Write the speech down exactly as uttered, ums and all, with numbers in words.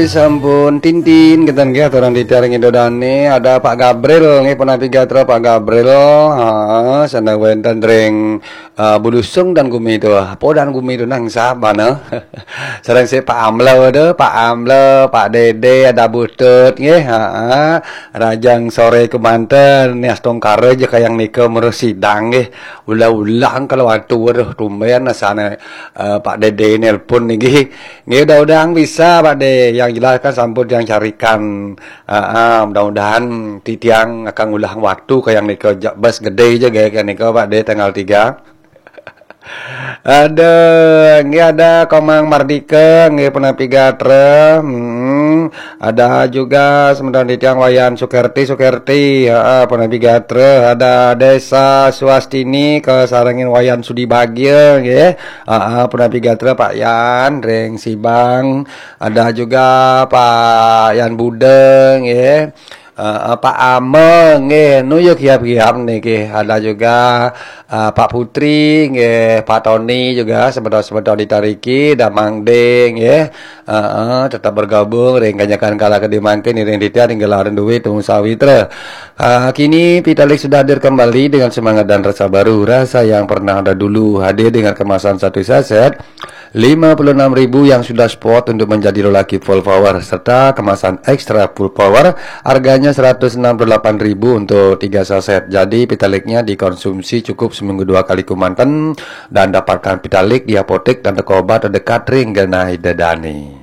Sampun tintin, kinten nggih, aturan titiang ring Ida Dane, ada Pak Gabriel nggih, punapi gatra Pak Gabriel. Ha, sane wenten ring, eh, Bulusung dan Gumi tu. Apa dan Gumi tu nang sah bana? Sareng si Pak Amla tu, Pak Amla, Pak Dede, ada Butut nggih. Ha, rajang sore kemanten, nias tongkara ja kayang nika merusidang nggih. Ulah-ulah kalau atu, aduh, tumben asane, eh, Pak Dede nelpon niki. Nggih, udah-udahan bisa, Pak De. Yang jelas kan sampun yang carikan. Ah, ah, mudah-mudahan titiang akan ngulah waktu kayang nika, ja-, bas gede ja kayang nika, Pak De, tanggal tiga. Ada, nggih, ada Komang Mardika, nggih, punapi gatra. Hmm, ada juga semeton titiang Wayan Sukerti, Sukerti, heeh, punapi gatra. Ada Desa Suastini, kasarengin Wayan Sudi Bagia, nggih. Heeh, punapi gatra Pak Yan, ring Sibang. Ada juga Pak Yan Buda, nggih. Eh, eh, Pak Ameng, nggih, nu ya kiap-kiap niki. Ada juga, eh, Pak Putri, nggih, Pak Tony juga, semeton-semeton ditariki, Damang De, nggih. Eh, eh, tetap bergabung ring kanyakan kala kadi mangkin, iring titiang ring gelaran duit temu sawitra. Eh, kini Pitalik sudah hadir kembali dengan semangat dan rasa baru. Rasa yang pernah ada dulu hadir dengan kemasan satu saset lima puluh enam ribu yang sudah spot untuk menjadi lelaki full power serta kemasan extra full power, harganya seratus enam puluh delapan ribu untuk tiga saset. Jadi Pitaliknya dikonsumsi cukup seminggu dua kali kemanten dan dapatkan Pitalik di apotek dan toko obat terdekat ring genah Ida Dane.